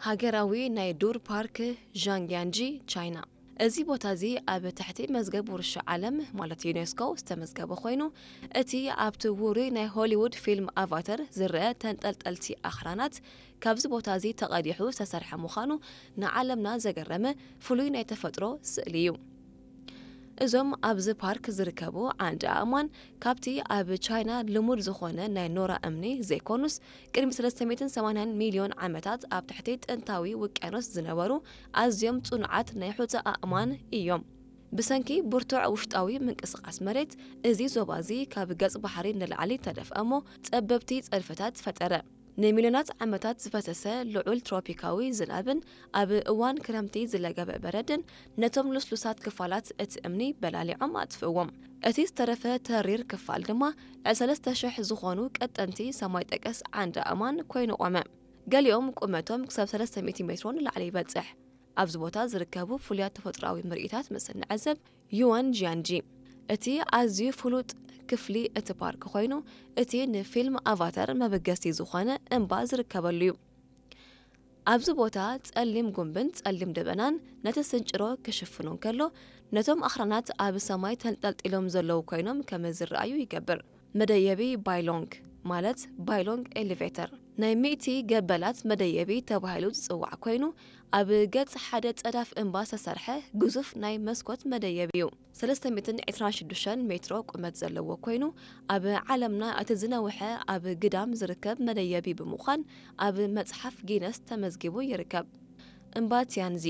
ሃገራዊ ናይ ዱር ፓርክ ዣንግያንጂ ቻይና። እዚ ቦታ እዚ ኣብ ትሕቲ መዝገብ ውርሻ ዓለም ማለት ዩኔስኮ ዝተመዝገበ ኮይኑ፣ እቲ ኣብቲ ውሩይ ናይ ሆሊውድ ፊልም ኣቫተር ዝረአ ተንጠልጠልቲ ኣኽራናት ካብዚ ቦታ እዚ ተቐዲሑ ዝተሰርሐ ምዃኑ ንዓለምና ዘገረመ ፍሉይ ናይ ተፈጥሮ ስእሊ እዩ። እዞም ኣብዚ ፓርክ ዝርከቡ ዓንዲ ኣእማን ካብቲ ኣብ ቻይና ልሙድ ዝኾነ ናይ ኖራ እምኒ ዘይኮኑስ፣ ቅድሚ ሰለስተ ሚእትን ሰማንያን ሚልዮን ዓመታት ኣብ ትሕቲ ጥንታዊ ውቅያኖስ ዝነበሩ ኣዝዮም ጽኑዓት ናይ ሑጻ ኣእማን እዮም። ብሰንኪ ብርቱዕ ውሽጣዊ ምንቅስቓስ መሬት፣ እዚ ዞባ እዚ ካብ ገጽ ባሕሪ ንላዕሊ ተደፍአ እሞ ጸበብቲ ጸድፍታት ፈጠረ። ንሚልዮናት ዓመታት ዝፈሰሰ ልዑል ትሮፒካዊ ዝናብን ኣብ እዋን ክረምቲ ዝለገበ በረድን ነቶም ልስሉሳት ክፋላት እቲ እምኒ በላሊዖም ኣጥፍእዎም። እቲ ዝተረፈ ተሪር ክፋል ድማ ልዕሊ ሰለስተ ሽሕ ዝኾኑ ቀጠንቲ ሰማይ ጠቀስ ዓንዲ ኣእማን ኮይኑ ቆመ። ገሊኦም ቁመቶም ክሳብ ሰለስተ ሚእቲ ሜትሮ ንላዕሊ ይበጽሕ። ኣብዚ ቦታ ዝርከቡ ፍሉያት ተፈጥሮኣዊ ምርኢታት ምስ እንዕዘብ፣ ዩዋን ጂያንጂ እቲ ኣዝዩ ፍሉጥ ክፍሊ እቲ ፓርክ ኮይኑ፣ እቲ ንፊልም ኣቫተር መበገሲ ዝኾነ እምባ ዝርከበሉ እዩ። ኣብዚ ቦታ ጸሊም ጉምብን ጸሊም ደበናን ነቲ ስንጭሮ ክሽፍኖ እንከሎ፣ ነቶም ኣኽራናት ኣብ ሰማይ ተንጠልጢሎም ዘለዉ ኮይኖም ከም ዝረኣዩ ይገብር። መደየቢ ባይሎንግ ማለት ባይሎንግ ኤሊቬተር ናይ ሚእቲ ገበላት መደየቢ ተባሂሉ ዝጽዋዕ ኮይኑ፣ ኣብ ገጽ ሓደ ጸዳፍ እምባ ዝተሰርሐ ግዙፍ ናይ መስኮት መደየቢ እዩ። ሰለስተ ሚእትን ዕስራን ሽዱሽተን ሜትሮ ቁመት ዘለዎ ኮይኑ፣ ኣብ ዓለምና እቲ ዝነውሐ ኣብ ግዳም ዝርከብ መደየቢ ብምዃን ኣብ መጽሓፍ ጊነስ ተመዝጊቡ ይርከብ። እምባ ቲያንዚ።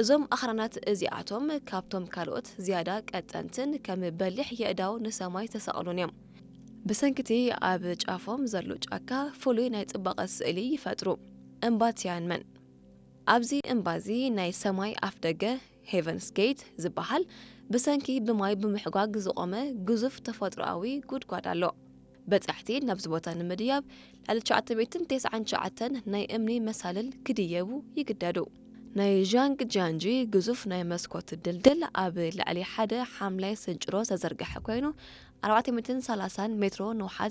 እዞም ኣኽራናት እዚኣቶም ካብቶም ካልኦት ዝያዳ ቀጠንትን ከም በሊሕ የእዳው ንሰማይ ዝተሰቕሉን እዮም። ብሰንኪቲ ኣብ ጫፎም ዘሎ ጫካ ፍሉይ ናይ ጽባቐ ስእሊ ይፈጥሩ። እምባ ቲያንመን። ኣብዚ እምባ እዚ ናይ ሰማይ ኣፍደገ፣ ሄቨንስ ጌት ዝበሃል፣ ብሰንኪ ብማይ ብምሕጓግ ዝቖመ ግዙፍ ተፈጥሮኣዊ ጉድጓድ ኣሎ። በጻሕቲ ናብዚ ቦታ ንምድያብ ልዕሊ ትሽዓተ ሚእትን ተስዓን ትሽዓተን ናይ እምኒ መሳልል ክድየቡ ይግደዱ። ናይ ዣንግ ጃንጂ ግዙፍ ናይ መስኮት ድልድል ኣብ ልዕሊ ሓደ ሓምላይ ስንጭሮ ዝተዘርግሐ ኮይኑ፣ ኣርባዕተ ሚእትን ሰላሳን ሜትሮ ንውሓት